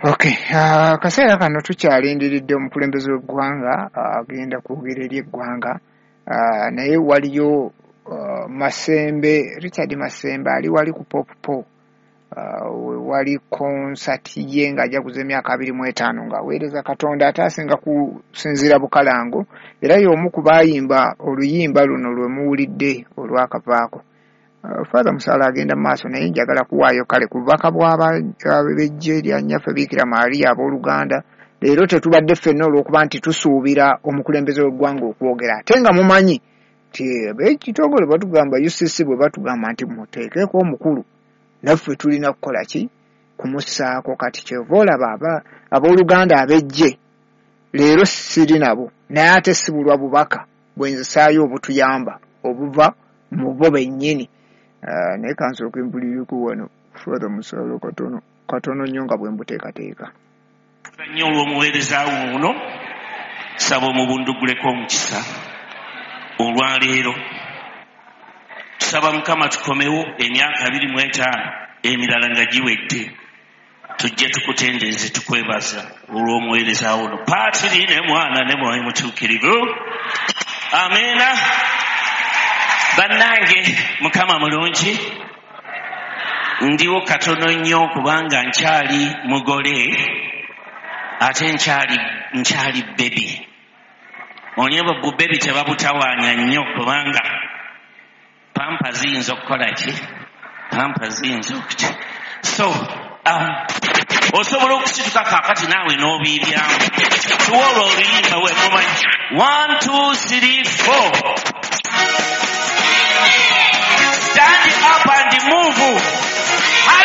Okay, akaseera kano tukyalindiridde omukulembeze w'eggwanga agenda kwogera eri eggwanga, naye waliyo Masembe, Richard Masembe ali wali ku Pop Po, wali konsati ye ng'ajaguza emyaka 25 ng'aweereza Katonda, ate asinga kusinziira Bukalango, era y'omu ku baayimba oluyimba luno lwe muwulidde olwakavaako. Father Musaala agenda mu maaso, naye njagala kuwaayo kale ku bubaka bw'ab'eggye lya Nnyaffe Biikira Maria abooluganda. Leero tetubadde ffenna olw'okuba nti tusuubira omukulembeze w'eggwanga okwogera, ate nga mumanyi nti ab'ekitongole batugamba UCC bwe batugamba nti muteekeko omukulu, naffe tulina kukola ki? Kumussaako. Kati kyova olaba abooluganda ab'eggye leero siri nabo, naye ate sibulwa bubaka bwe nzisaayo obutuyamba obuva mu bo bennyini. Naye kansooke mpulireko wano Father Musaala katono katono nnyo nga bwe mbuteekateeka. Nnyo olw'omuweereza wo ono, saba omubunduguleko omukisa olwaleero. Tusaba Mukama tukomewo emyaka 25 emirala nga giwedde, tujje tukutendereze tukwebaza olw'omuweereza wo ono, Paatiri ne Mwana ne Mwoyo Mutuukirivu. Amiina. Bannange, Mukama mulungi. Ndiwo katono nnyo kubanga nkyali mugole ate nkyali bebi. Onye bu bebi tebabutawaanya nnyo kubanga pampa ziyinza okukola ki? Pampa ziyinza okuki. So osobola okusituka kaakati naawe n'obiibyamu. Tuwa olwo oluyimba we mumanyi. 1, 2, 3, 4. Stand up and move.